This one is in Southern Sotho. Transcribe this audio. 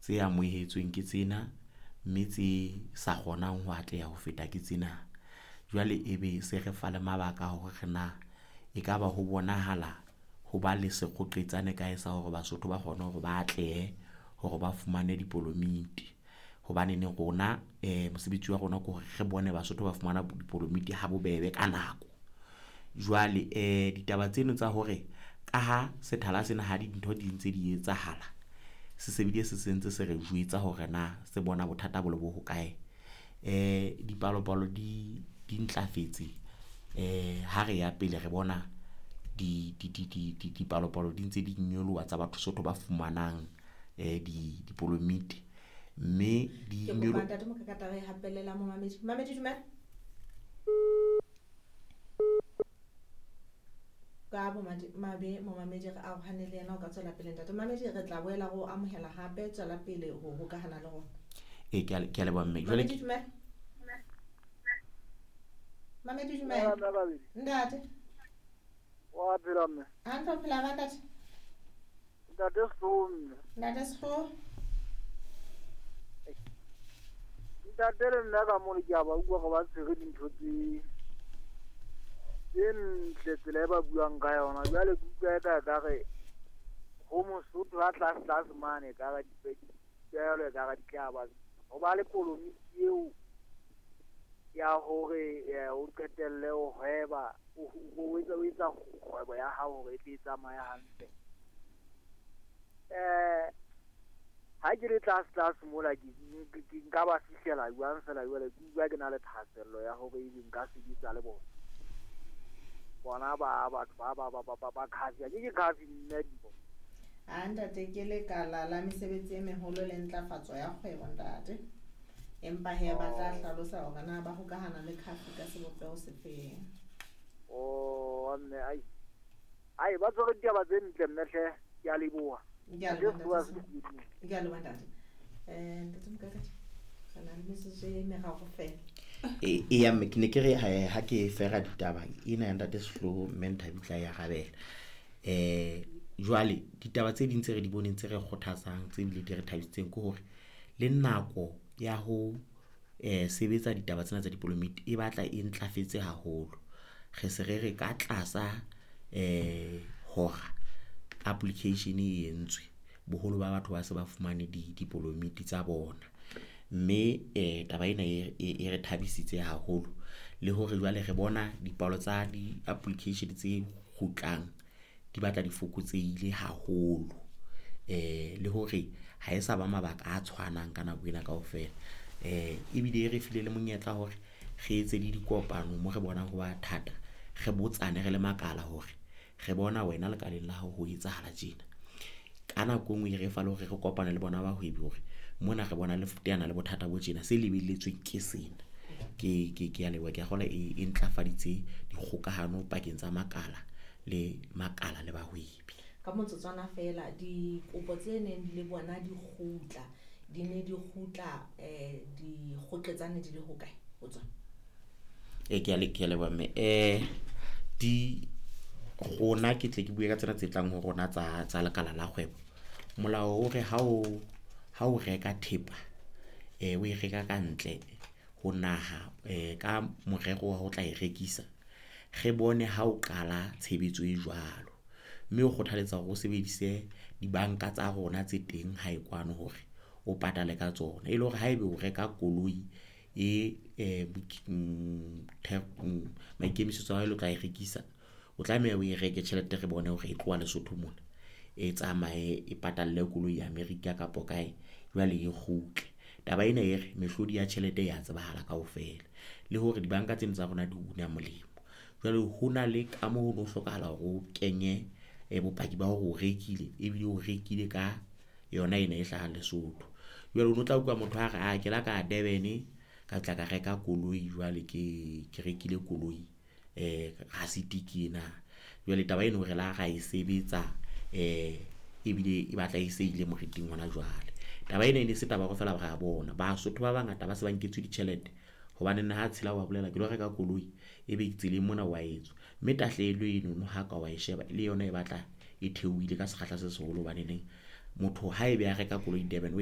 Tse amohetsweng ke tsena, mme tse sa kgonang ho atleha ho feta ke tsena. Jwale ebe se re fa le mabaka a hore na ekaba ho bonahala ho ba le sekgoqetsane kae sa hore Basotho ba kgone hore ba atlehe hore ba fumane dipolomiti. Hobaneneng rona mosebetsi wa rona ke hore re bone Basotho ba fumana dipolomiti ha bobebe ka nako. Jwale ditaba tseno tsa hore ka ha sethala sena ha dintho di ntse di etsahala, se se bile se sentse se re jwetsa hore na se bona bothata bo le bo hokae. Dipalopalo di ntlafetse ha re ya pele re bona dipalopalo di ntse di nyoloha tsa batho Sotho ba fumanang dipolomiti, mme di Ke kopa ntate Mokakata re hapelle la momamedi. Momamedi dumela. Ka mabe momamedi re arohane le yena, o ka tswela pele ntate. Momamedi re tla boela re o amohela hape, tswela pele ho hokahana le rona. E ke a leboha mme. Jwale Mamedi dumela. Mamedi dumela. Ntate. Wa phela mme. Hantle, o phela ba ntate? Ntate Sehloho mme. Ntate Sehloho. Ntate le nna ka mona ke a ba utlwa gore ba tshwere dintho tse ntle tsela e ba buang ka yona. Jwale ke utlwa eka ekare ho Mosotho a tlase tlase mane ekare dipehelo ekare di tla ba ho ba le polomiti eo ya hore o qetelle o hweba o etsa kgwebo ya hao hore e tle e tsamaye hantle. Ha ke le tlase tlase mola ke nka ba fihlela jwang fela jwale ke utlwa ke na le thahasello ya hore ebe nka sebetsa le bona. Bona ba batho ba khafi, ke khafi mme dibo. A ntate ke lekala la mesebetsi e meholo le ntlafatso ya kgwebo ntate. Empa he ba tla hlalosa hore na ba hokahana le khafi ka sebopeho sefeng. Oh mme ai. Ai ba tshwere ditaba tse ntle mme hle, ke a leboha. Ke a leboha ntate. Ntate Mokakati, re na le metsotso e meraro feela. Eya mme ke ne ke re ha ke fera ditaba ena ya ntate Sehloho mme Nthabi tla e arabela. Jwale ditaba tse ding tse re di boneng tse re kgothatsang tse bile di re thabisitseng ke hore le nako ya ho sebetsa ditaba tsena tsa dipolomiti e batla e ntlafetse haholo. Re se re re ka tlasa hora application e entswe, boholo ba batho ba se ba fumane dipolomiti tsa bona. Mme taba ena e re thabisitse haholo le hore jwale re bona dipalo tsa di-application tse kgutlang di batla di fokotsehile haholo. Le hore ha e sa ba mabaka a tshwanang ka nako ena kaofela. Ebile e re file le monyetla hore re etse le dikopano mo re bonang ho ba thata, re botsane re le makala hore re bona wena lekaleng la hao ho etsahala tjena. Ka nako e nngwe e re fa le hore re kopane le bona bahwebi hore mona re bona le teana le bothata bo tjena, se lebelletsweng ke sena. Ke a leboha, ke a kgolwa e ntlafaditse dikgokahano pakeng tsa makala le makala le bahwebi. Ka motsotswana feela, dikopo tse neng le bona di kgutla, di ne di kgutla dikgoqetsane di le hokae ho tsona? Ke a leboha mme. Di rona ke tle ke bue ka tsena tse tlang ho rona tsa lekala la kgwebo. Molao o re ha o reka thepa, o e reka ka ntle ho naha ka morero wa ho tla e rekisa, re bone ha o qala tshebetso e jwalo. Mme o kgothaletsa hore o sebedise dibanka tsa rona tse teng hae kwano hore o patale ka tsona. E le hore haeba o reka koloi e maikemisetso a hao e le o tla e rekisa, o tlameha o e reke tjhelete re bone hore e tloha Lesotho mona e tsamaye e patalle koloi America kapo kae, jwale e kgutle. Taba ena e re mehlodi ya tjhelete ya tsebahala kaofela le hore dibanka tsena tsa rona di una molemo. Jwale hona le ka moo ho no hlokahala hore o kenye bopaki ba hore o rekile ebile o rekile ka yona ena e hlahang Lesotho. Jwale o no tla utlwa motho a re ke la ka Durban ka tla ka reka koloi jwale ke rekile koloi rasiti ke ena. Jwale taba eno re la ra e sebetsa ebile e batla e se ile moriting hona jwale. Taba ena e ne se taba ya hore feela re a bona. Basotho ba bangata ba se ba nketswe ditjhelete hobane ha tshela wa bolela ke lo reka koloi ebe tseleng mona wa etswa. Mme tahlehelo enono ha ka wa e sheba le yona e batla e theohile ka sekgahla se seholo hobaneneng motho haebe a reka koloi Durban.